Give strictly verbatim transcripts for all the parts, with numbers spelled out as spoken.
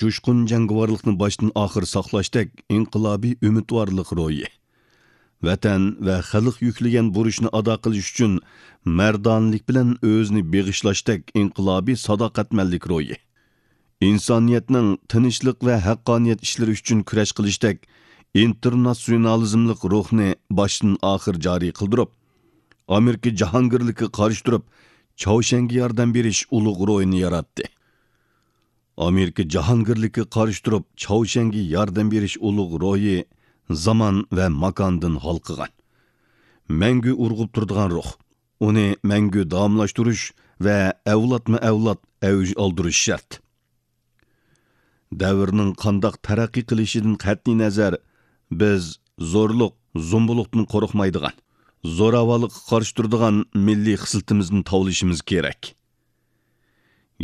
جۇشقۇن جەڭگىۋارلىقنى باشتىن ئاخىر ساقلاشتەك ئىنقىلابىي ئۈمىدۋارلىق روھى. ۋەتەن ۋە خەلق يۈكلىگەن بۇرچنى ئادا قىلىش ئۈچۈن مەردانىلىك بىلەن ئۆزىنى بېغىشلاشتەك ئىنقىلابىي ساداقەتمەنلىك روھى. ئىنسانىيەتنىڭ تىنچلىق ۋە ھەققانىيەت ئىشلىرى ئۈچۈن كۈرەش قىلىشتەك ئىنتېرناتسىيونالىزملىق روھنى باشتىن ئاخىر جارى قىلدۇرۇپ، ئامېرىكا جاھانگىرلىكىگە قارشى تۇرۇپ، چاۋشيەنگە ياردەم بېرىش ئۇلۇغ روھىنى ياراتتى. ئامېرىكا جاھانگىرلىكىگە قارشى تۇرۇپ، چاۋشيەنگە ياردەم بېرىش ئۇلۇغ روھى زامان ۋە ماكاندىن ھالقىغان، مەڭگۈ ئۇرغۇپ تۇرىدىغان روھ. ئۇنى مەڭگۈ داۋاملاشتۇرۇش ۋە ئەۋلادمۇ ئەۋلاد ئەۋج ئالدۇرۇش شەرت. دەۋرنىڭ قانداق تەرەققىي قىلىشىدىن قەتئىينەزەر، بىز زورلۇق، زومبۇلۇقتىن قورقمايدىغان، زوراۋانلىققا قارشى تۇرىدىغان مىللىي خىسلىتىمىزنى تاۋلىشىمىز كېرەك.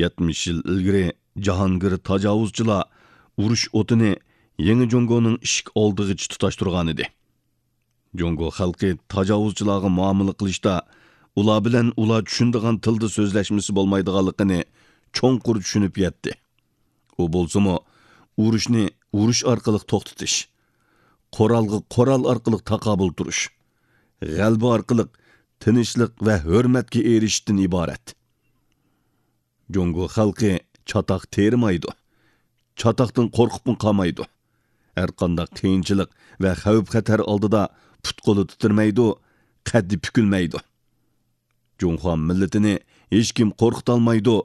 يەتمىش يىل ئىلگىرى جاھانگىر تاجاۋۇزچىلار ئۇرۇش ئوتىنى يېڭى جۇڭگونىڭ ئىشىك ئالدىغىچە تۇتاشتۇرغانىدى. جۇڭگو خەلقى تاجاۋۇزچىلارغا مۇئامىلە قىلىشتا ئۇلار بىلەن ئۇلار چۈشىنىدىغان تىلدا سۆزلەشمىسە بولمايدىغانلىقىنى چوڭقۇر چۈشىنىپ يەتتى. ئۇ بولسىمۇ، ئۇرۇشنى ئۇرۇش ئارقىلىق توختىتىش، قورالغا قورال ئارقىلىق تاقابىل تۇرۇش، غەلىبە ئارقىلىق تىنچلىق ۋە ھۆرمەتكە ئېرىشىشتىن ئىبارەت. جۇڭگو خەلقى چاتاق تېرىمايدۇ، چاتاقتىن قورقۇپمۇ قالمايدۇ. ھەرقانداق قىيىنچىلىق ۋە خەۋپ-خەتەر ئالدىدا پۇت-قولى تىترىمەيدۇ، قەددى پۈكۈلمەيدۇ. جۇڭخۇا مىللىتىنى ھېچكىم قورقۇتالمايدۇ،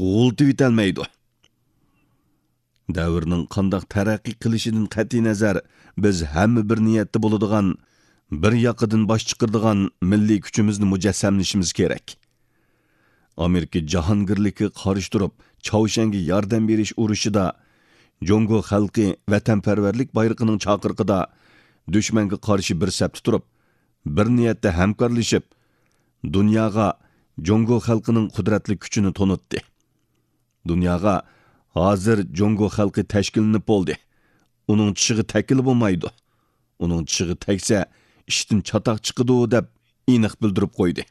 غۇلىتىۋېتەلمەيدۇ. دەۋرنىڭ قانداق تەرەققىي قىلىشىدىن قەتئىينەزەر، بىز ھەممە بىر نىيەتتە بولىدىغان، بىر ياقىدىن باش چىقىرىدىغان مىللىي كۈچىمىزنى مۇجەسسەملىشىمىز كېرەك. ئامېرىكا جاھانگىرلىكىگە قارشى تۇرۇپ، چاۋشيەنگە ياردەم بېرىش ئۇرۇشىدا جۇڭگو خەلقى ۋەتەنپەرۋەرلىك بايرىقىنىڭ چاقىرىقىدا دۈشمەنگە قارشى بىر سەپتە تۇرۇپ، بىر نىيەتتە ھەمكارلىشىپ، دۇنياغا جۇڭگو خەلقىنىڭ قۇدرەتلىك كۈچىنى تونۇتتى. دۇنياغا ھازىر جۇڭگو خەلقى تەشكىللىنىپ بولدى. ئۇنىڭ چىشىغا تەگكىلى بولمايدۇ. ئۇنىڭ چىشىغا تەگسە، ئىشتىن چاتاق چىقىدۇ، دەپ ئېنىق بىلدۈرۈپ قويدى.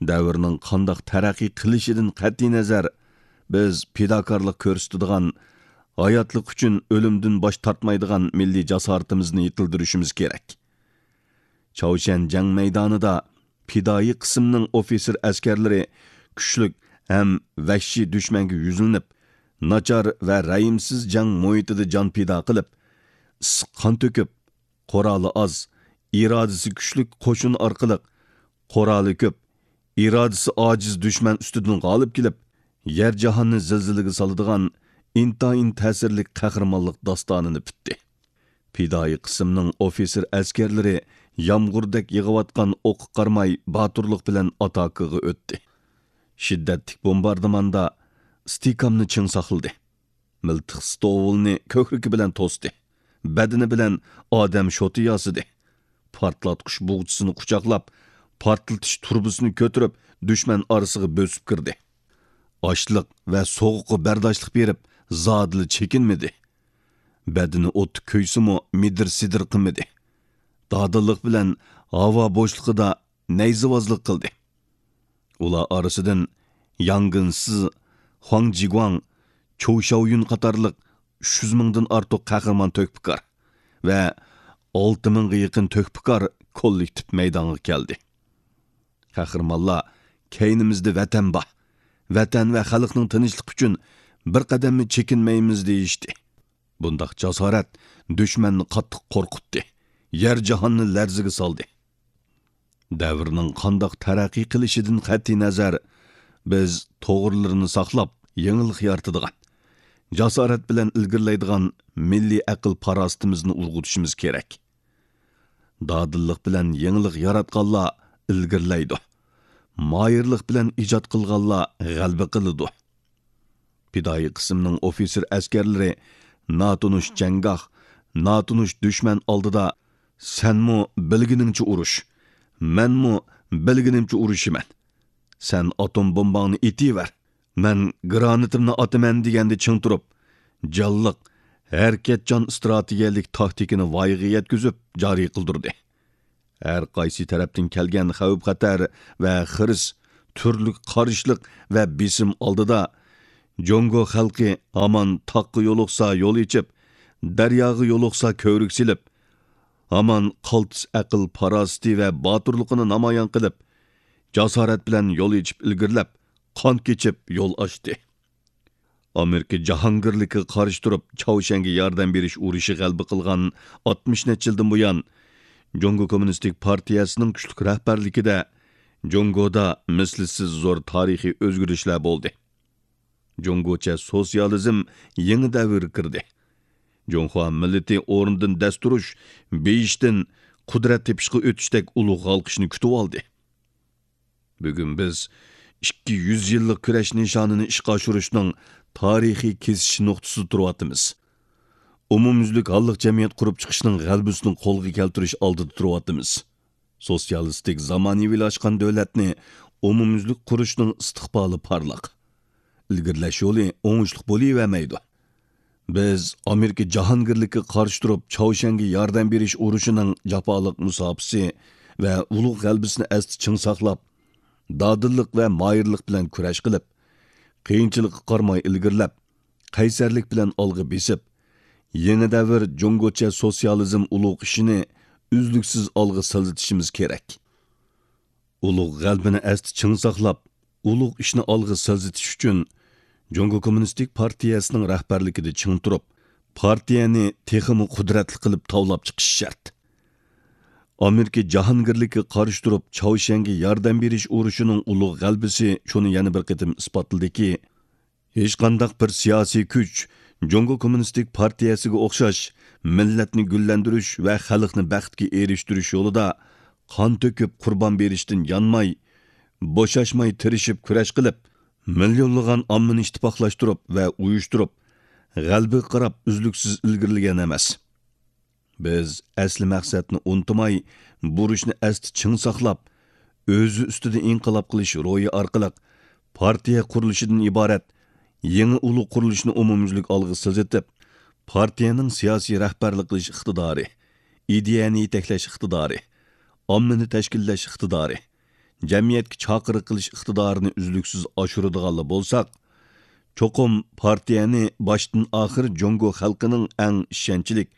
دەۋرنىڭ قانداق تەرەققىي قىلىشىدىن قەتئىينەزەر، بىز پىداكارلىق كۆرسىتىدىغان، ھاياتلىق ئۈچۈن ئۆلۈمدىن باش تارتمايدىغان مىللىي جاسارىتىمىزنى يېتىلدۈرۈشىمىز كېرەك. چاۋشيەن جەڭ مەيدانىدا پىدائىي قىسىمنىڭ ئوفىتسېر ئەسكەرلىرى كۈچلۈك ھەم ۋەھشىي دۈشمەنگە يۈزلىنىپ، ناچار ۋە رەھىمسىز جەڭ مۇھىتىدا جان پىدا قىلىپ، ئىسسىق قان تۆكۈپ، قورالى ئاز، ئىرادىسى كۈچلۈك قوشۇن ئارقىلىق قورالى كۆپ، ئىرادىسى ئاجىز دۈشمەن ئۈستىدىن غالىب كېلىپ، يەر جاھاننى زىلزىلىگە سالىدىغان ئىنتايىن تەسىرلىك قەھرىمانلىق داستانىنى پۈتتى. پىدائىي قىسىمنىڭ ئوفىتسېر ئەسكەرلىرى يامغۇردەك يېغىۋاتقان ئوققا قارىماي باتۇرلۇق بىلەن ئاتاكىغا ئۆتتى. شىددەتلىك بومباردىماندا ئىستىھكامنى چىڭ ساقلىدى. مىلتىق ستوۋۇلنى كۆكرىكى بىلەن توستى. بەدىنى بىلەن ئادەم شوتى ياسىدى. پارتلاتقۇچ بوغچىسىنى قۇچاقلاپ، پارتلىتىش تۇرۇبىسىنى كۆتۈرۈپ، دۈشمەن ئارىسىغا بۆسۈپ كىردى. ئاچلىق ۋە سوغۇققا بەرداشلىق بېرىپ، زادىلا چېكىنمىدى. بەدىنى ئوتتا كۆيسىمۇ، مىدىر-سىدىر قىلمىدى. دادىللىق بىلەن ھاۋا بوشلۇقىدا نەيزىۋازلىق قىلدى. ئۇلار ئارىسىدىن ياڭ گېنسى، خۇاڭ جىگۇاڭ، چوۋ شياۋيۈن قاتارلىق ئۈچ يۈز مىڭدىن ئارتۇق قەھرىمان تۆھپىكار ۋە ئالتە مىڭغا يېقىن تۆھپىكار كوللېكتىپ مەيدانغا كەلدى. قەھرىمانلار، «كەينىمىزدە ۋەتەن بار. ۋەتەن ۋە خەلقنىڭ تىنچلىقى ئۈچۈن بىر قەدەممۇ چېكىنمەيمىز» دېيىشتى. بۇنداق جاسارەت دۈشمەننى قاتتىق قورقۇتتى، يەر جاھاننى لەرزىگە سالدى. دەۋرنىڭ قانداق تەرەققىي قىلىشىدىن قەتئىينەزەر، بىز توغرىلىرىنى ساقلاپ، يېڭىلىق يارىتىدىغان، جاسارەت بىلەن ئىلگىرىلەيدىغان مىللىي ئەقىل-پاراسىتىمىزنى ئۇرغۇتۇشىمىز كېرەك. دادىللىق بىلەن يېڭىلىق ياراتقانلار ئىلگىرىلەيدۇ. ماھىرلىق بىلەن ئىجاد قىلغانلار غەلىبە قىلىدۇ. پىدائىي قىسىمنىڭ ئوفىتسېر ئەسكەرلىرى ناتونۇش جەڭگاھ، ناتونۇش دۈشمەن ئالدىدا «سەنمۇ بىلگىنىڭچە ئۇرۇش، مەنمۇ بىلگىنىمچە ئۇرۇشىمەن. سەن ئاتوم بومباڭنى ئېتىۋەر، مەن گراناتىمنى ئاتىمەن» دېگەندە چىڭ تۇرۇپ، جانلىق، ھەرىكەتچان ئىستراتېگىيەلىك تاكتىكىنى ۋايىغا يەتكۈزۈپ جارى قىلدۇردى. ھەر قايسى تەرەپتىن كەلگەن خەۋپ-خەتەر ۋە خىرىس، تۈرلۈك قارشىلىق ۋە بېسىم ئالدىدا جۇڭگو خەلقى ھامان تاغقا يولۇقسا يول ئېچىپ، دەرياغا يولۇقسا كۆۋرۈك سېلىپ، ھامان قالتىس ئەقىل-پاراسىتى ۋە باتۇرلۇقىنى نامايان قىلىپ، جاسارەت بىلەن يول ئېچىپ ئىلگىرىلەپ، قان كېچىپ يول ئاچتى. ئامېرىكا جاھانگىرلىكىگە قارشى تۇرۇپ، چاۋشيەنگە ياردەم بېرىش ئۇرۇشى غەلىبە قىلغان ئاتمىش نەچچە يىلدىن بۇيان، جۇڭگو كوممۇنىستىك پارتىيەسىنىڭ كۈچلۈك رەھبەرلىكىدە جۇڭگودا مىسلىسىز زور تارىخىي ئۆزگىرىشلەر بولدى. جۇڭگوچە سوتسىيالىزم يېڭى دەۋرگە كىردى. جۇڭخۇا مىللىتى ئورنىدىن دەس تۇرۇش، بېيىشتىن قۇدرەت تېپىشقا ئۆتۈشتەك ئۇلۇغ ھالقىشنى كۈتۈۋالدى. بۈگۈن بىز ئىككى يۈز يىللىق كۈرەش نىشانىنى ئىشقا ئاشۇرۇشنىڭ تارىخىي كېسىش نۇقتىسىدا تۇرۇۋاتىمىز. ئومۇميۈزلۈك ھاللىق جەمئىيەت قۇرۇپ چىقىشنىڭ غەلىبىسىنى قولغا كەلتۈرۈش ئالدىدا تۇرۇۋاتىمىز. سوتسىيالىستىك زامانىۋىلاشقان دۆلەتنى ئومۇميۈزلۈك قۇرۇشنىڭ ئىستىقبالى پارلاق. ئىلگىرىلەش يولى ئوڭۇشلۇق بولۇۋەرمەيدۇ. بىز ئامېرىكا جاھانگىرلىكىگە قارشى تۇرۇپ، چاۋشيەنگە ياردەم بېرىش ئۇرۇشىنىڭ جاپالىق مۇساپىسى ۋە ئۇلۇغ غەلىبىسىنى ئەستە چىڭ ساقلاپ، دادىللىق ۋە ماھىرلىق بىلەن كۈرەش قىلىپ، قىيىنچىلىققا قارىماي ئىلگىرىلەپ، قەيسەرلىك بىلەن ئالغا بېسىپ، يېڭى دەۋر جۇڭگوچە سوتسىيالىزم ئۇلۇغ ئىشىنى ئۈزلۈكسىز ئالغا سىلجىتىشىمىز كېرەك. ئۇلۇغ غەلىبىنى ئەستە چىڭ ساقلاپ، ئۇلۇغ ئىشنى ئالغا سىلجىتىش ئۈچۈن، جۇڭگو كوممۇنىستىك پارتىيەسىنىڭ رەھبەرلىكىدە چىڭ تۇرۇپ، پارتىيەنى تېخىمۇ قۇدرەتلىك قىلىپ تاۋلاپ چىقىش شەرت. ئامېرىكا جاھانگىرلىكىگە قارشى تۇرۇپ، چاۋشيەنگە ياردەم بېرىش ئۇرۇشىنىڭ ئۇلۇغ غەلىبىسى شۇنى يەنە بىر قېتىم ئىسپاتلىدىكى، ھېچقانداق بىر سىياسىي كۈچ جۇڭگو كوممۇنىستىك پارتىيەسىگە ئوخشاش مىللەتنى گۈللەندۈرۈش ۋە خەلقنى بەختكە ئېرىشتۈرۈش يولىدا قان تۆكۈپ قۇربان بېرىشتىن يانماي، بوشاشماي تىرىشىپ كۈرەش قىلىپ، مىليونلىغان ئاممىنى ئىتتىپاقلاشتۇرۇپ ۋە ئۇيۇشتۇرۇپ، غەلىبىگە قاراپ ئۈزلۈكسىز ئىلگىرىلىگەن ئەمەس. بىز ئەسلى مەقسەتنى ئۇنتۇماي، بۇرچنى ئەستە چىڭ ساقلاپ، ئۆزى ئۈستىدە ئىنقىلاب قىلىش روھى ئارقىلىق پارتىيە قۇرۇلۇشىدىن ئىبارەت يېڭى ئۇلۇغ قۇرۇلۇشنى ئومۇميۈزلۈك ئالغا سىلجىتىپ، پارتىيەنىڭ سىياسىي رەھبەرلىك قىلىش ئىقتىدارى، ئىدىيەنى يېتەكلەش ئىقتىدارى، ئاممىنى تەشكىللەش ئىقتىدارى، جەمئىيەتكە چاقىرىق قىلىش ئىقتىدارىنى ئۈزلۈكسىز ئاشۇرىدىغانلا بولساق، چوقۇم پارتىيەنى باشتىن ئاخىر جۇڭگو خەلقىنىڭ ئەڭ ئىشەنچلىك،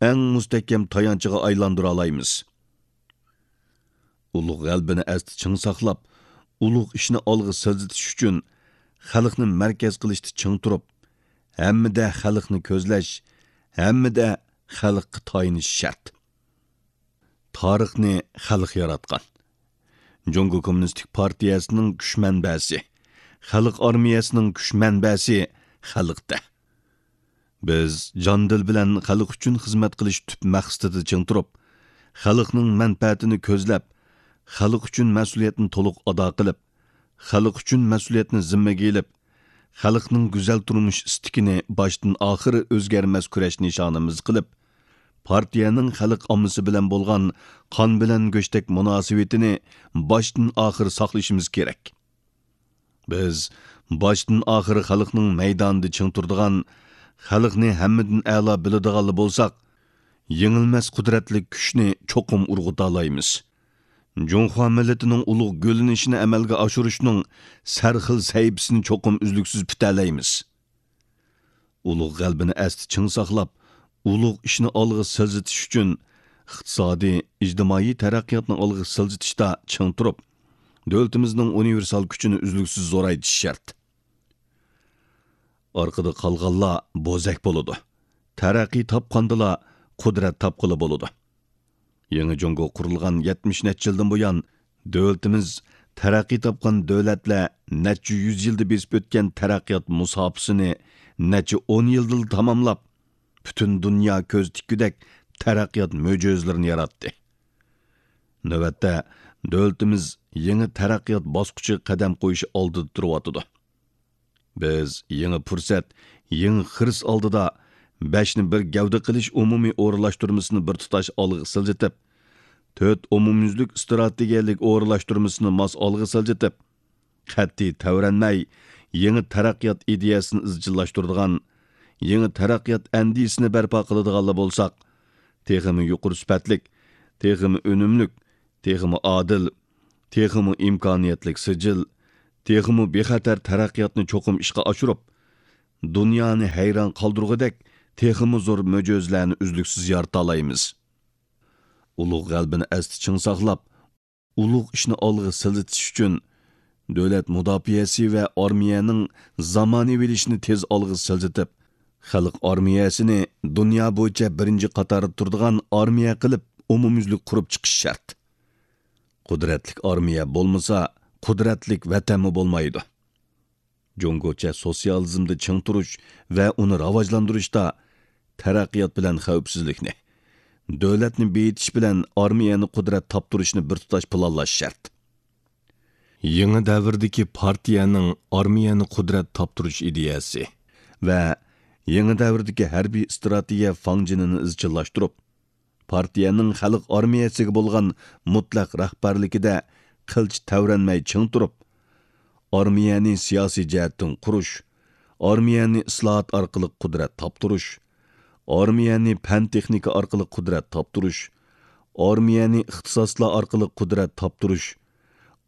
ئەڭ مۇستەھكەم تايانچىغا ئايلاندۇرالايمىز. ئۇلۇغ غەلىبىنى ئەستە چىڭ ساقلاپ، ئۇلۇغ ئىشنى ئالغا سىلجىتىش ئۈچۈن خەلقنى مەركەز قىلىشتا چىڭ تۇرۇپ، ھەممىدە خەلقنى كۆزلەش، ھەممىدە خەلققە تايىنىش شەرت. تارىخنى خەلق ياراتقان. جۇڭگو كوممۇنىستىك پارتىيەسىنىڭ كۈچ مەنبەسى، خەلق ئارمىيەسىنىڭ كۈچ مەنبەسى خەلقتە. بىز جان-دىل بىلەن خەلق ئۈچۈن خىزمەت قىلىش تۈپ مەقسىتىدە چىڭ تۇرۇپ، خەلقنىڭ مەنپەئەتىنى كۆزلەپ، خەلق ئۈچۈن مەسئۇلىيەتنى تولۇق ئادا قىلىپ، خەلق ئۈچۈن مەسئۇلىيەتنى زىممىگە ئېلىپ، خەلقنىڭ گۈزەل تۇرمۇش ئىستىكىنى باشتىن ئاخىر ئۆزگەرمەس كۈرەش نىشانىمىز قىلىپ، پارتىيەنىڭ خەلق ئاممىسى بىلەن بولغان قان بىلەن گۆشتەك مۇناسىۋىتىنى باشتىن ئاخىر ساقلىشىمىز كېرەك. بىز باشتىن ئاخىر خەلقنىڭ مەيدانىدا چىڭ تۇرىدىغان، خەلقنى ھەممىدىن ئەلا بىلىدىغانلا بولساق، يېڭىلمەس قۇدرەتلىك كۈچنى چوقۇم ئۇرغۇتالايمىز. جۇڭخۇا مىللىتىنىڭ ئۇلۇغ گۈللىنىشىنى ئەمەلگە ئاشۇرۇشنىڭ سەرخىل سەھىپىسىنى چوقۇم ئۈزلۈكسىز پۈتەلەيمىز. ئۇلۇغ غەلىبىنى ئەستە چىڭ ساقلاپ، ئۇلۇغ ئىشنى ئالغا سىلجىتىش ئۈچۈن، ئىقتىسادىي، ئىجتىمائىي تەرەققىياتنى ئالغا سىلجىتىشتا چىڭ تۇرۇپ، دۆلىتىمىزنىڭ ئۇنىۋېرسال كۈچىنى ئۈزلۈكسىز زورايتىش شەرت. ئارقىدا قالغانلار بوزەك بولىدۇ. تەرەققىي تاپقاندىلا قۇدرەت تاپقىلى بولىدۇ. يېڭى جۇڭگو قۇرۇلغان يەتمىش نەچچە يىلدىن بۇيان، دۆلىتىمىز تەرەققىي تاپقان دۆلەتلەر نەچچە يۈز يىلدا بېسىپ ئۆتكەن تەرەققىيات مۇساپىسىنى نەچچە ئون يىلدىلا تاماملاپ، پۈتۈن دۇنيا كۆز تىككۈدەك تەرەققىيات مۆجىزىلىرىنى ياراتتى. نۆۋەتتە، دۆلىتىمىز يېڭى تەرەققىيات باسقۇچىغا قەدەم قويۇش ئالدىدا تۇرۇۋاتىدۇ. بىز يېڭى پۇرسەت، يېڭى خىرىس ئالدىدا بەشنى بىر گەۋدە قىلىش ئومۇمىي ئورۇنلاشتۇرمىسىنى بىر تۇتاش ئالغا سىلجىتىپ، تۆت ئومۇميۈزلۈك ئىستراتېگىيەلىك ئورۇنلاشتۇرمىسىنى ماس ئالغا سىلجىتىپ، قەتئىي تەۋرەنمەي، يېڭى تەرەققىيات ئىدىيەسىنى ئىزچىللاشتۇرىدىغان، يېڭى تەرەققىيات ئەندىزىسىنى بەرپا قىلىدىغانلا بولساق، تېخىمۇ يۇقىرى سۈپەتلىك، تېخىمۇ ئۈنۈملۈك، تېخىمۇ ئادىل، تېخىمۇ ئىمكانىيەتلىك سىجىل، تېخىمۇ بىخەتەر تەرەققىياتنى چوقۇم ئىشقا ئاشۇرۇپ، دۇنيانى ھەيران قالدۇرغۇدەك تېخىمۇ زور مۆجىزىلەرنى ئۈزلۈكسىز يارىتالايمىز. ئۇلۇغ غەلىبىنى ئەستە چىڭ ساقلاپ، ئۇلۇغ ئىشنى ئالغا سىلجىتىش ئۈچۈن، دۆلەت مۇداپىئەسى ۋە ئارمىيەنىڭ زامانىۋىلىشىشىنى تېز ئالغا سىلجىتىپ، خەلق ئارمىيەسىنى دۇنيا بويىچە بىرىنچى قاتاردا تۇرىدىغان ئارمىيە قىلىپ ئومۇميۈزلۈك قۇرۇپ چىقىش شەرت. قۇدرەتلىك ئارمىيە بولمىسا، قۇدرەتلىك ۋەتەنمۇ بولمايدۇ. جۇڭگوچە سوتسىيالىزمدا چىڭ تۇرۇش ۋە ئۇنى راۋاجلاندۇرۇشتا تەرەققىيات بىلەن خەۋپسىزلىكنى، دۆلەتنى بېيىتىش بىلەن ئارمىيەنى قۇدرەت تاپتۇرۇشنى بىر تۇتاش پىلانلاش شەرت. يېڭى دەۋردىكى پارتىيەنىڭ ئارمىيەنى قۇدرەت تاپتۇرۇش ئىدىيەسى ۋە يېڭى دەۋردىكى ھەربىي ئىستراتېگىيە فاڭجېنىنى ئىزچىللاشتۇرۇپ، پارتىيەنىڭ خەلق ئارمىيەسىگە بولغان مۇتلەق رەھبەرلىكىدە قىلچە تەۋرەنمەي چىڭ تۇرۇپ، ئارمىيەنى سىياسىي جەھەتتىن قۇرۇش، ئارمىيەنى ئىسلاھات ئارقىلىق قۇدرەت تاپتۇرۇش، ئارمىيەنى پەن-تېخنىكا ئارقىلىق قۇدرەت تاپتۇرۇش، ئارمىيەنى ئىختىساسلار ئارقىلىق قۇدرەت تاپتۇرۇش،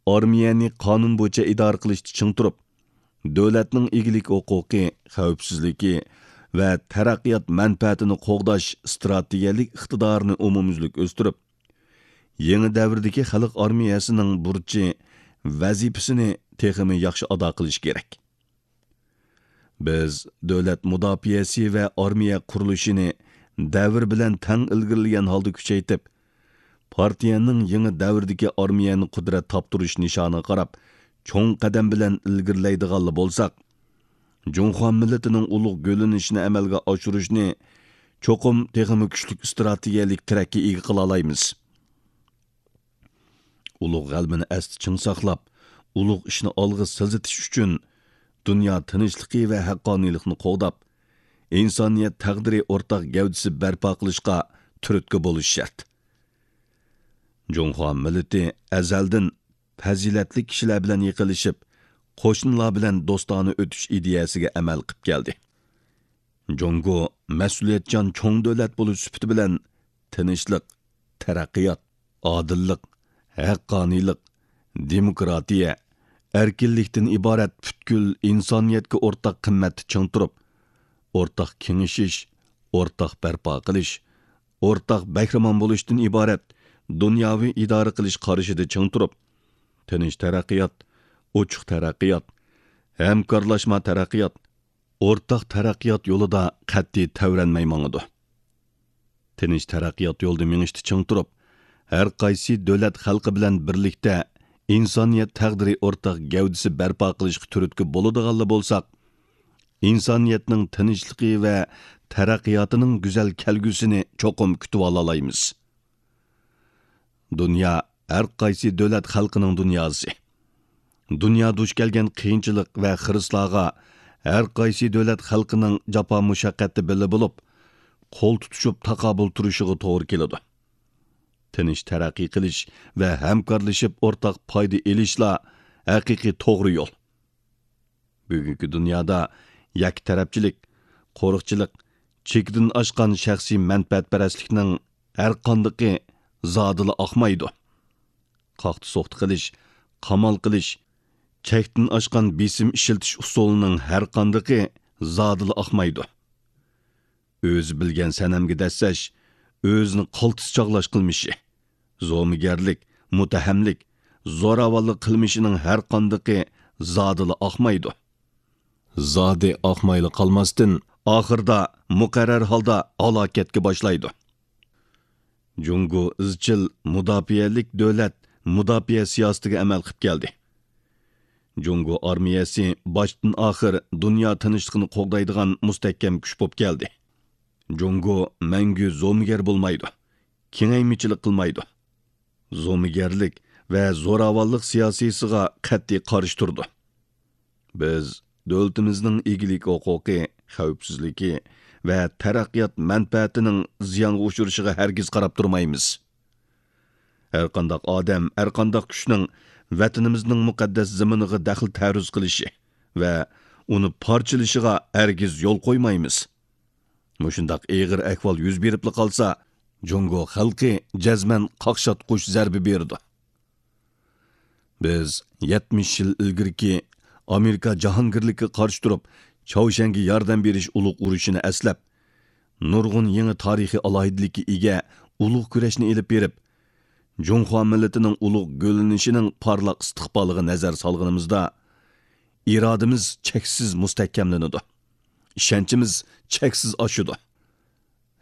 ئارمىيەنى قانۇن بويىچە ئىدارە قىلىشتا چىڭ تۇرۇپ، دۆلەتنىڭ ئىگىلىك ھوقۇقى، خەۋپسىزلىكى ۋە تەرەققىيات مەنپەئەتىنى قوغداش ئىستراتېگىيەلىك ئىقتىدارىنى ئومۇميۈزلۈك ئۆستۈرۈپ، يېڭى دەۋردىكى خەلق ئارمىيەسىنىڭ بۇرچى، ۋەزىپىسىنى تېخىمۇ ياخشى ئادا قىلىش كېرەك. بىز دۆلەت مۇداپىئەسى ۋە ئارمىيە قۇرۇلۇشىنى دەۋر بىلەن تەڭ ئىلگىرىلىگەن ھالدا كۈچەيتىپ، پارتىيەنىڭ يېڭى دەۋردىكى ئارمىيەنى قۇدرەت تاپتۇرۇش نىشانىغا قاراپ چوڭ قەدەم بىلەن ئىلگىرىلەيدىغانلا بولساق، جۇڭخۇا مىللىتىنىڭ ئۇلۇغ گۈللىنىشىنى ئەمەلگە ئاشۇرۇشنى چوقۇم تېخىمۇ كۈچلۈك ئىستراتېگىيەلىك تىرەككە ئىگە قىلالايمىز. ئۇلۇغ غەلىبىنى ئەستە چىڭ ساقلاپ، ئۇلۇغ ئىشنى ئالغا سىلجىتىش ئۈچۈن دۇنيا تىنچلىقى ۋە ھەققانىيلىقنى قوغداپ، ئىنسانىيەت تەقدىرى ئورتاق گەۋدىسى بەرپا قىلىشقا تۈرتكە بولۇش شەرت. جۇڭخۇا مىللىتى ئەزەلدىن پەزىلەتلىك كىشىلەر بىلەن يېقىنلىشىپ، قوشنىلار بىلەن دوستانە ئۆتۈش ئىدىيەسىگە ئەمەل قىپ كەلدى. جۇڭگو مەسئۇلىيەتچان چوڭ دۆلەت بولۇش سۈپىتى بىلەن تىنچلىق، تەرەققىيات، ئادىللىق، ھەققانىيلىق، دېموكراتىيە، ئەركىنلىكتىن ئىبارەت پۈتكۈل ئىنسانىيەتكە ئورتاق قىممەتتە چىڭ تۇرۇپ، ئورتاق كېڭىشىش، ئورتاق بەرپا قىلىش، ئورتاق بەھرىمەن بولۇشتىن ئىبارەت دۇنياۋى ئىدارە قىلىش قارىشىدا چىڭ تۇرۇپ، تىنچ تەرەققىيات، ئوچۇق تەرەققىيات، ھەمكارلاشما تەرەققىيات، ئورتاق تەرەققىيات يولىدا قەتئىي تەۋرەنمەي ماڭىدۇ. تىنچ تەرەققىيات يولىدا مېڭىشتا چىڭ تۇرۇپ، ھەر قايسى دۆلەت خەلقى بىلەن بىرلىكتە ئىنسانىيەت تەقدىرى ئورتاق گەۋدىسى بەرپا قىلىشقا تۈرتكە بولىدىغانلا بولساق، ئىنسانىيەتنىڭ تىنچلىقى ۋە تەرەققىياتىنىڭ گۈزەل كەلگۈسىنى چوقۇم كۈتۈۋالالايمىز. دۇنيا ھەر قايسى دۆلەت خەلقىنىڭ دۇنياسى. دۇنيا دۇچ كەلگەن قىيىنچىلىق ۋە خىرىسلارغا ھەر قايسى دۆلەت خەلقىنىڭ جاپا مۇشەققەتتە بىللە بولۇپ، قول تۇتۇشۇپ تاقابىل تۇرۇشىغا توغرا كېلىدۇ. تىنچ تەرەققىي قىلىش ۋە ھەمكارلىشىپ ئورتاق پايدا ئېلىشلا ھەقىقىي توغرا يول. بۈگۈنكى دۇنيادا يەككە تەرەپچىلىك، قورۇقچىلىق، چېكىدىن ئاشقان شەخسىي مەنپەئەتپەرەسلىكنىڭ ھەرقاندىقى زادىلا ئاقمايدۇ. قاقتى-سوقتى قىلىش، قامال قىلىش، چەكتىن ئاشقان بېسىم ئىشلىتىش ئۇسۇلىنىڭ ھەرقاندىقى زادىلا ئاقمايدۇ. ئۆزى بىلگەن سەنەمگە دەسسەش، ئۆزىنى قالتىس چاغلاش قىلمىشى، زومىگەرلىك، مۇتتەھەملىك، زوراۋانلىق قىلمىشىنىڭ ھەرقاندىقى زادىلا ئاقمايدۇ. زادى ئاقمايلا قالماستىن، ئاخىرىدا مۇقەررەر ھالدا ھالاكەتكە باشلايدۇ. جۇڭگو ئىزچىل مۇداپىئەلىك دۆلەت مۇداپىئە سىياسىتىگە ئەمەل قىپ كەلدى. جۇڭگو ئارمىيەسى باشتىن ئاخىر دۇنيا تىنچلىقىنى قوغدايدىغان مۇستەھكەم كۈچ بولۇپ كەلدى. جۇڭگو مەڭگۈ زومىگەر بولمايدۇ، كېڭەيمىچىلىك قىلمايدۇ. زومىگەرلىك ۋە زوراۋانلىق سىياسىيسىغا قەتئىي قارشى تۇرىدۇ. بىز دۆلىتىمىزنىڭ ئىگىلىك ھوقۇقى، خەۋپسىزلىكى ۋە تەرەققىيات مەنپەئەتىنىڭ زىيانغا ئۇچرىشىغا ھەرگىز قاراپ تۇرمايمىز. ھەرقانداق ئادەم، ھەرقانداق كۈچنىڭ ۋەتىنىمىزنىڭ مۇقەددەس زېمىنىغا دەخلى تەرۇز قىلىشى ۋە ئۇنى پارچىلىشىغا ھەرگىز يول قويمايمىز. مۇشۇنداق ئېغىر ئەھۋال يۈز بېرىپلا قالسا، جۇڭگو خەلقى جەزمەن قاقشاتقۇچ زەربە بېرىدۇ. بىز يەتمىش يىل ئىلگىرىكى ئامېرىكا جاھانگىرلىكىگە قارشى تۇرۇپ، چاۋشيەنگە ياردەم بېرىش ئۇلۇغ ئۇرۇشىنى ئەسلەپ، نۇرغۇن يېڭى تارىخىي ئالاھىدىلىككە ئىگە ئۇلۇغ كۈرەشنى ئېلىپ بېرىپ، جۇڭخۇا مىللىتىنىڭ ئۇلۇغ گۈللىنىشىنىڭ پارلاق ئىستىقبالىغا نەزەر سالغىنىمىزدا، ئىرادىمىز چەكسىز مۇستەھكەملىنىدۇ، ئىشەنچىمىز چەكسىز ئاشىدۇ.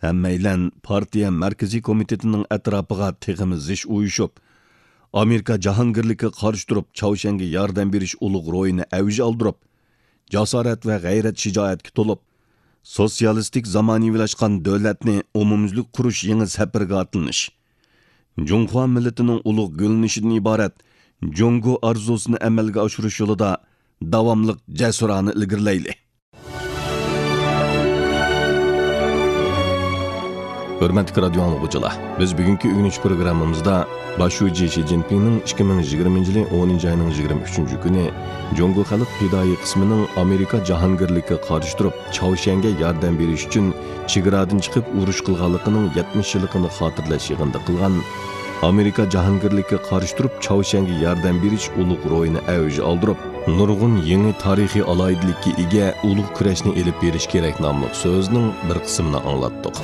ھەممەيلەن پارتىيە مەركىزىي كومىتېتىنىڭ ئەتراپىغا تېخىمۇ زىچ ئۇيۇشۇپ، ئامېرىكا جاھانگىرلىكىگە قارشى تۇرۇپ، چاۋشيەنگە ياردەم بېرىش ئۇلۇغ روھىنى ئەۋج ئالدۇرۇپ، جاسارەت ۋە غەيرەت-شىجائەتكە تولۇپ، سوتسىيالىستىك زامانىۋىلاشقان دۆلەتنى ئومۇميۈزلۈك قۇرۇش يېڭى سەپىرىگە ئاتلىنىش، جۇڭخۇا مىللىتىنىڭ ئۇلۇغ گۈللىنىشىدىن ئىبارەت جۇڭگو ئارزۇسىنى ئەمەلگە ئاشۇرۇش يولىدا داۋاملىق جەسۇرانە ئىلگىرىلەيلى! ھۆرمەتلىك رادىيو ئاڭلىغۇچىلار، بىز بۈگۈنكى ئۆگىنىش پروگراممىمىزدا باش شۇجى شى جىنپىڭنىڭ ئىككى مىڭ يىگىرمىنچى يىلى ئونىنچى ئاينىڭ يىگىرمە ئۈچىنچى كۈنى جۇڭگو خەلق پىدائىي قىسمىنىڭ ئامېرىكا جاھانگىرلىكىگە قارشى تۇرۇپ، چاۋشيەنگە ياردەم بېرىش ئۈچۈن چېگرادىن چىقىپ ئۇرۇش قىلغانلىقىنىڭ يەتمىش يىللىقىنى خاتىرىلەش يىغىنىدا قىلغان، ئامېرىكا جاھانگىرلىكىگە قارشى تۇرۇپ، چاۋشيەنگە ياردەم بېرىش ئۇلۇغ روھىنى ئەۋج ئالدۇرۇپ، نۇرغۇن يېڭى تارىخىي ئالاھىدىلىككە ئىگە ئۇلۇغ كۈرەشنى ئېلىپ بېرىش كېرەك ناملىق سۆزنىڭ بىر قىسمىنى ئاڭلاتتۇق.